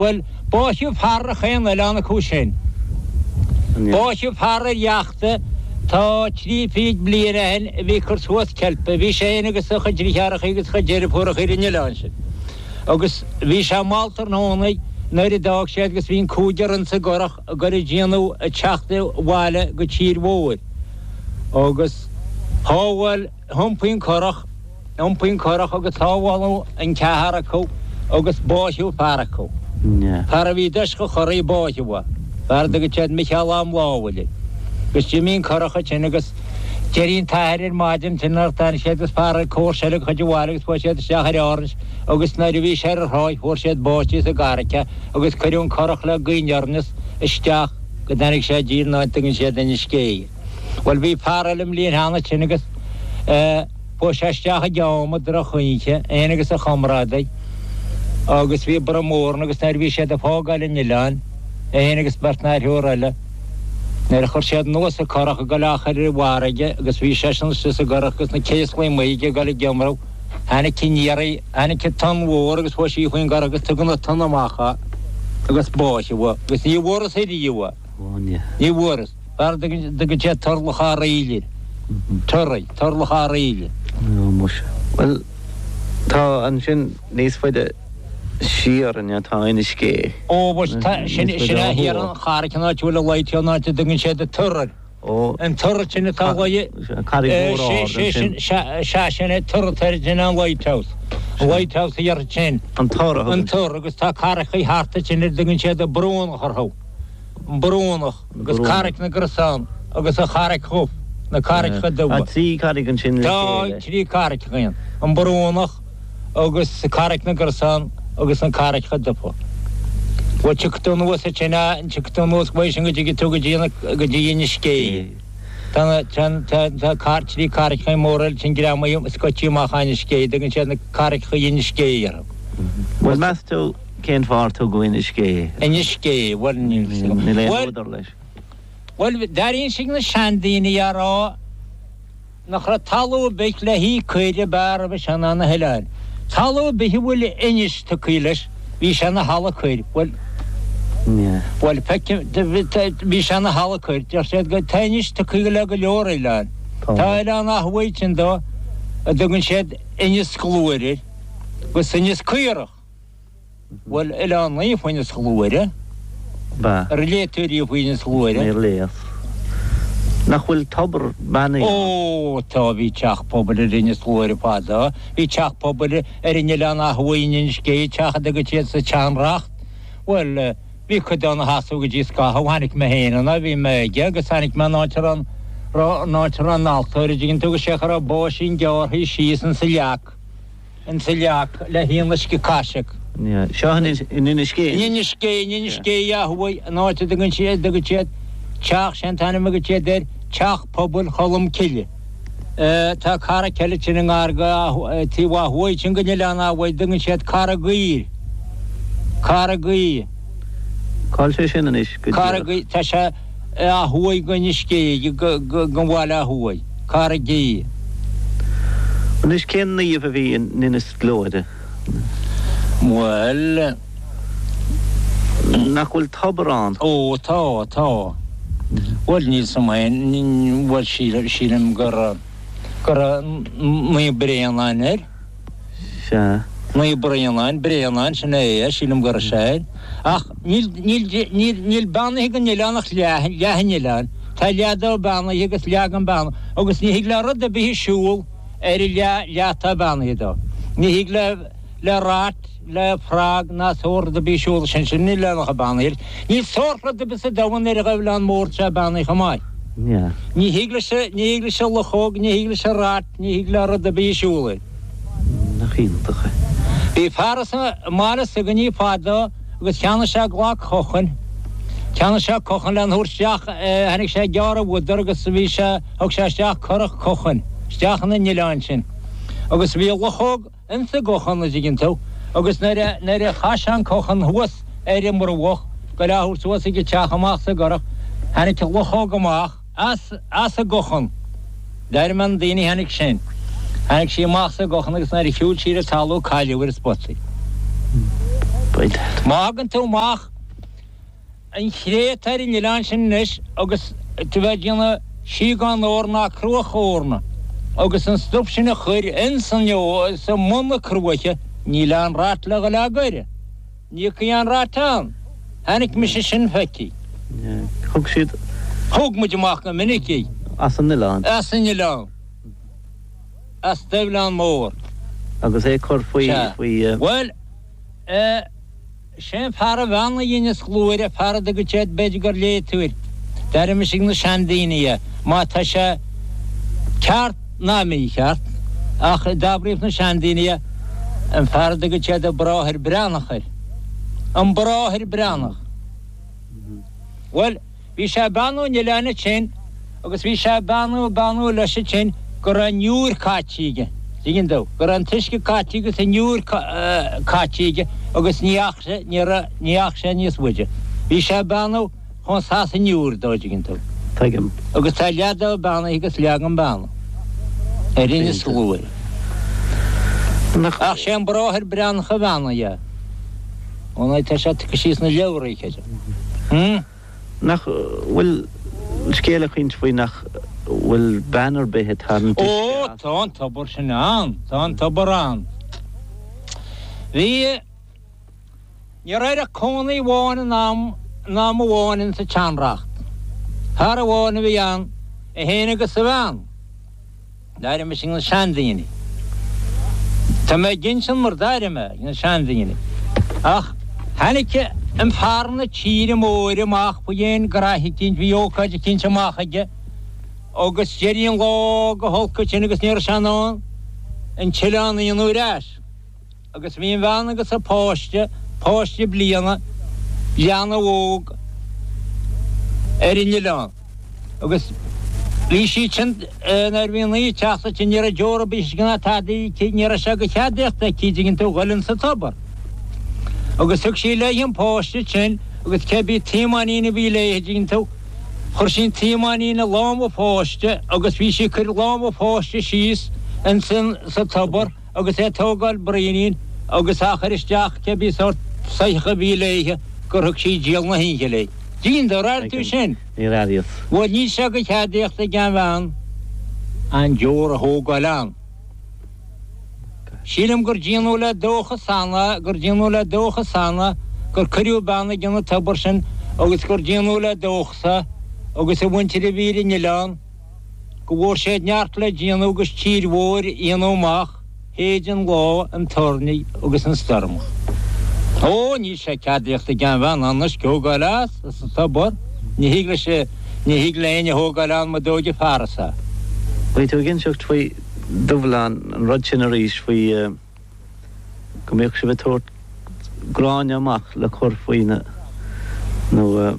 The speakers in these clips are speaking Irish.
Bhuel, báitheadh fear ar chaon oileán acu sin. Báitheadh fear ar iachta tá trí fichid bliain ó shin a bhí ag cur suas ceilpe. Bhí sé fhéin agus a chuid driotháracha agus a chuid deirfiúracha ar an oileán sin. Agus bhí sé mall tráthnóna nuair a d'fhág siad agus bhí an cúigear insa gcurach ag goil ag déanamh ag teacht abhaile go tír mhóir. Agus shábháil. Thiompaigh an curach, iompaigh an curach agus sábháladh an ceathrar acu agus báitheadh fear acu. Fear a bhí i dtoiseach an churaigh báitheadh é. Fear a dtugadh siad Micheál Am Lámhail air. Agus d'imigh an curach ansin agus d'éirigh an t-athair ar maidin ansin nuair a tháinig siad agus fear comharsa eile a chuid abhaile agus fuair siad isteach ar Árainn agus nuair a bhí sé ar an thráigh fuair siad báite sa gcarraig é agus cuireadh an curach le gaoth aniar aneas isteach go dtáinig sé i dtír in áit a dtugann siad Inis Scéith. Bhuel bhí fear eile an bhliain cheana sin agus eh fuair sé isteach i gceom i droch-oíche, é fhéin agus a chomrádaí agus bhí borradh mór ann agus nuair a bhí siad ag fágáil an oileáin, é fhéin agus beirt nó triúr eile, nuair a chuir siad anuas an curach ag dul á chur ar an bhfarraige agus bhí seisean istigh sa gcurach agus na céaslaí amuigh aige ag dul ag iomramh, tháinig aniar, tháinig an tonn mhór agus fuair sí faoin gcurach agus tugadh an tonn amach é agus báitheadh é agus ní bhfuarthas ariamh é. Ní bhfuarthas. Fear a dtugann siad Turlach Fhearaíl air. Turraigh, Turlach Fhearaíl. Ó muise. Bhuel, tá ansin níos faide siar inniu, tá Inis Gé. Ó muise, tá, sin, sin é thiar an charraig an áit a bhfuil an lighthouse, an áit a dtugann siad an Tor air. Ó. An tor sin atá luigh. Carraig mhór ard ansin. Sea, sin é Tor atá air, sin é an lighthouse. An lighthouse thiar ansin. An Tor a thugann. An Tor, agus tá carraigeacha thart ansin ar a dtugann siad an Brúnach orthu. An Brúnach agus Carraig na gCrosán agus an Charraig Dhubh, na Carraigeacha Dubha. Tá trí charraig ansin le chéile. Tá trí charraig ann, an Brúnach agus Carraig na gCrosán agus na Carraigeacha Dubha. Bhuel, tiocfaidh tú anuas ansin, tiocfaidh tú anuas uaidh sin go dtiocfaidh tú go dtí, go dtí Inis Gé. Tá na, tá, tá, tá car, trí carraigeacha móra eile sin greamaithe, scoite amach as Inis Gé, tugann siad na Carraigeacha Inis Gé orthu. Bhuel, meas tú cén fáth ar tugadh Inis Gé? Inis Gé, bhuel, níl 'fhios agam. Níl aon údar leis. Bhuel, d'airínn na seandaoine á rá nach raibh talamh ar bith le haghaidh caoirigh ab fhearr roimhe seo ná na hoileáin. Talamh ar bith a bhfuil Inis tugtha leis, bhí sé ina thalamh caor. Bhuel, bhuel, feicim, bhí sé ina thalamh caor. Deir siad go, tá Inis tugtha le go leor oileáin. Tá oileán ó thuaidh ansin dó a dtugann siad Inis Gluaire air, agus Inis Caorach. Bhuel, Oileán Naofa Inis Gluaire. Ba. Ar léigh tú riamh faoi Inis Gluaire? Níor léas. Nach bhfuil tobar beannaithe ann? Ó, tá, bhí teach pobail ar Inis Gluaire fadó. Bhí teach pobail ar an oileán ó thuaidh in Inis Gé, teach a dtugadh siad sa tSeanreacht. Bhuel, bhí cuid ann a sheasamh go dtí scaitheamh. Tháinig mé féin ann, bhí mé aige agus tháinig mé an áit a raibh an áit a raibh an altóir, an dtuigeann tú, agus sé go raibh báisín gearrtha síos insa leac. insa leac le hAon Uisce Caiseach. Seo in Inis Gé. In Inis Gé, in Inis Gé thuaidh, an áit a dtugann siad, a dtugann siad teach, sé an t-ainm a dtugann siad air, Teach Pobail Cholm Cille. Tá carraig eile ansin i ngar do, taobh ó thuaidh sin den oileán ó thuaidh, dtugann siad Carraig Aoidh. Carraig Aoidh. Cá bhfuil sé sin anois go díreach? Carraig Aoidh, tá sé. ó thuaidh d'Inis Gé, den bhaile ó thuaidh, Carraig Aoidh. Anois cén naomh a bhí in Inis Gluaire? Bhuel. Nach bhfuil tobar ann? Ó, tá, tá. Bhuel, níl 's a'm féin, bhuel, sílim gur, gur Naomh Bréanainn air. Sea. Naomh Bréanainn, Bréanainn, sin é é, sílim gur sea é. Ach níl, níl, níl, níl beannaithe den oileán ach leath, leath an oileáin. Tá leath dó beannaithe agus leath gan beannú, agus ní thig le rud ar bith a siúl ar an leath, leath atá beannaithe dó. Ní thig le, le rat, le frog ná sórt rud ar bith siúl sin, sin an oileán atá beannaithe. Níl sórt rud ar bith sa domhan ar an oileán mór atá beannaithe chomh maith. Ní thig leis, ní thig leis an luchóg, ní thig leis an rat, Ní thig le rud ar bith siúl air. Nach iontach é. Bhí fear as an mbaile s'againne fadó agus cheannaigh sé glac cochain. Cheannaigh sé cochan lena thabhairt isteach, tháinig sé ag gearradh fhuadar agus bhí sé, thug sé isteach curach cochain isteach 'na n-oileán sin. Agus bhí luchóg insa gcochan, a dtuigeann tú, agus nuair a, nuair a chaith sé an cochan thuas ar an mbruach go le thabhairt suas ag an teach amach sa gcurach, tháinig an luchóg amach. As, as an gcochan. D'éirigh mé na daoine tháinig sin. Tháinig sí amach as an gcochan agus nuair a shiúil sí ar an talamh cailleadh ar an spota í. Má thagann tú amach an chré atá ar an oileán sin anois agus tú bheith ag déanamh síogán eorna ná cruach eorna agus an stuif sin a chur ins an i mbun na cruaiche, níl aon rat le dhul á goir. Ní thiocfaidh aon rat ann. Chonaic mise sin feicthe. Thug siad. Thóg muid amach go minic í. As an oileán. As an oileán. As Duibhleán Mór. Agus é cur faoi, faoi. Bhuel, eh, sé an fear a bheannaigh Inis Gluaire, fear a dtugann siad, b'fhéidir gur léigh tú air, d'airigh mise ag na seandaoine é, má tá sé ceart ná mícheart, ach d'abraíodh na seandaoine é, an fear a dtugann siad an Bráthair Breathnach air. An Bráthair Breathnach. Bhuel, bhí sé ag beannú an oileáin ansin agus bhí sé ag beannú, ag beannú leis ansin go raibh an iúr caite aige, tuigeann tú, go raibh an t-uisce caite agus an iúr caite aige agus ní dheachaigh sé, ní raibh, ní dheachaigh sé níos faide. Bhí sé ag beannú chomh as an iúr dó, tuigeann tú. Tuigim. Agus tá leath dó beannaithe agus leath den bheannú ar Inis Gluaire. Ach sé an Bráthair Breathnach a bheannaigh é. Ó ná tá sé tugtha síos sna leabhraí, creidim. Nach bhfuil scéal ag caint faoi nach bhfuil bean ar bith ag tarraingt uisce Ó, as? tá an tobar sin ann, tá an tobar ann. Bhí, ní raibh ach cónaí amháin in am, in am amháin insa tseanreacht. Fear amháin a bhí ann, é féin agus a bhean. D'airigh mise ag na seandaoine. Tá mé ag insint mar d'airigh mé ag na seandaoine. Ach tháinig an fear na tíre móire amach faoi aon graithe eicínt, bhí ócáid eicínt amach aige agus d'éirigh an lá go holc ansin agus ní raibh sé in ann an t-oileán a dhéanamh ar ais. Agus bhí an bhean agus a páiste, páiste bliana, leanbh óg, ar an oileán. Agus bhí siad sin, nuair bhí an oíche ag teacht ansin, ní raibh deor ar bith uisce ná tada aici, ní raibh sé de cheadaíocht aici, dtuigeann tú, dhul insa tobar. Agus thug sí léi an páiste sin agus cé bith taomáinín a bhí léi, dtuigeann tú, chuir sí an taomáinín i lámh an pháiste agus bhí sí ag cur lámh an pháiste síos insan, sa tobar, agus é ag tógáil braoinín agus á chur isteach cé bith sórt soitheach a bhí léithe gur thug sí díol na hoíche léi. Dtuigeann tú, ar airigh tú sin? Níor airíos. Bhuel, níl sé de cheadaíocht ag an bhean an deor a thógáil ann. Sílim gur déanadh le dóchas ann, gur déanadh le dóchas ann gur cuireadh bean ag an tobar sin agus gur déanadh le dóchas agus a mhuintir a bhí ar an oileán, go bhfuair siad neart le déanamh agus tír mhór a dhéanamh amach théid an lá, an toirní agus an stoirm. Ó, níl sé ceadaíocht ag aon bhean an uisce a thógáil as, as an tobar. Ní thig leis, ní thig le éinne a thógáil ann mura dtóigfidh fear as é. Bhí tú ag inseacht faoi Dubhleán, an rud sin arís faoi. go mbíodh sibh ag tabhairt gráinne amach le cur faoi na, nó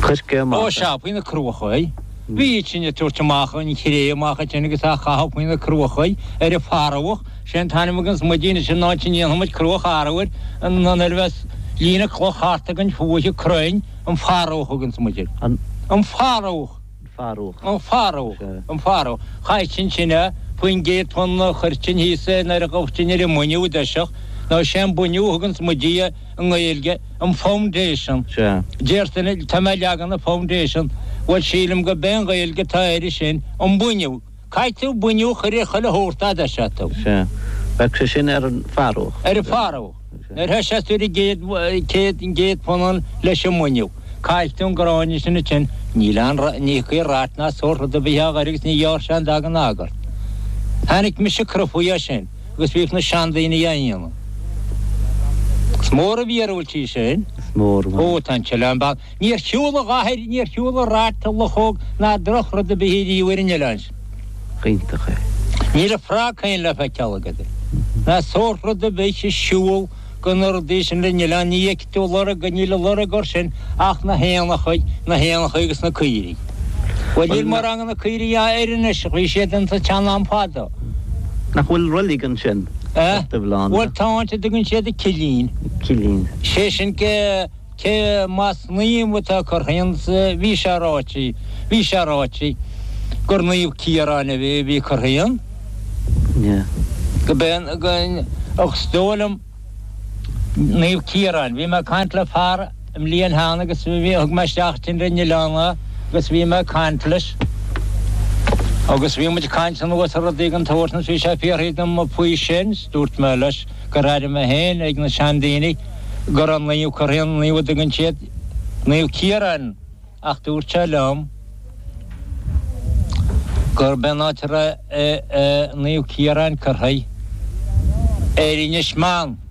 coirce amach. Ó sea, faoi na cruachaí. Bhí sinn ag tabhairt amach an chré amach ansin agus á chaitheamh faoi na cruachaí ar an pharmhach. Sé an t-ainm a thuganns muid anois ar an áit a ndéanfaidh muid cruach arbhair, an nuair a bheas líne cloch thart againn fúithi, crainn, an pharmhach a thuganns muid air. An. An pharmhach. Farúch. An Farúch. An Farúch. Chaithfinn sin é, faoin gcéad punt a chuirtinn thíos é nuair a ghabhtinn ar an mbuinniú i dtoiseach, nó sé an buinniú a thuganns muide i nGaeilge, an foundation. Sea. Déarfainn, tá mé ag leagan an foundation, bhuel sílim go b'é an Ghaeilge atá air sin, an buinniú. Caithfidh tú buinniú a chur ar chuile shórt dá dtoiseodh tú. Sea. Bheadh sé sin ar an Farúch. Ar an Farúch. Nuair a thoiseos tú ar an gcéad, céad, an gcéad phunann leis an mbuinniú, caithfidh tú an gráinne sin ansin, níl aon, ní thiocfaidh rat ná sórt rud ar bith á ghoir agus ní ghearrfaidh sé an dá den agart. Chonaic mise crufaí é sin agus bhíodh na seandaoine á dhéanamh. Is mór an mhíorúilt í sin. Is mór. Ó, tá an t-oileán beag. Níor shiúil a dhath air, níor shiúil a rat, a luchóg ná drochrud ar bith ariamh ar an oileán sin. Iontach é. Níl a frog féin le feiceáil agat air. Ná sórt rud ar bith ag siúl go na rudaí sin ar an oileán, ní fheicfidh tú lorg, níl a lorg air sin ach na héanachaí, na héanachaí agus na caoirigh. Bhuel, níl mórán de na caoirigh air anois, ach bhí siad insa tsean-am fadó. Nach bhfuil roilig ansin, ar Duibhleán? Bhuel, tá áit a dtugann siad an Cillín. Cillín. Sé sin Cé más naomh atá curtha ann, bhí sé ráite, bhí sé ráite gur Naomh Ciarán a bhí, bhí curtha ann. Yeah. Go b'é an, go, ach is dóigh liom, Naomh Ciarán. Bhí mé ag caint le fear i mbliain cheana agus bhí, thug mé isteach ar an oileán é agus bhí mé ag caint leis agus bhí muid ag caint anuas ar rudaí den tsórt sin agus bhí sé ag fiafraí dom faoi sin 's dúirt mé leis gur airigh mé féin ag na seandaoine go raibh naomh curtha, an naomh a dtugann siad Naomh Ciarán ach dúirt sé liom gurb é an áit a raibh Naomh Ciarán curtha ar Inis Meáin.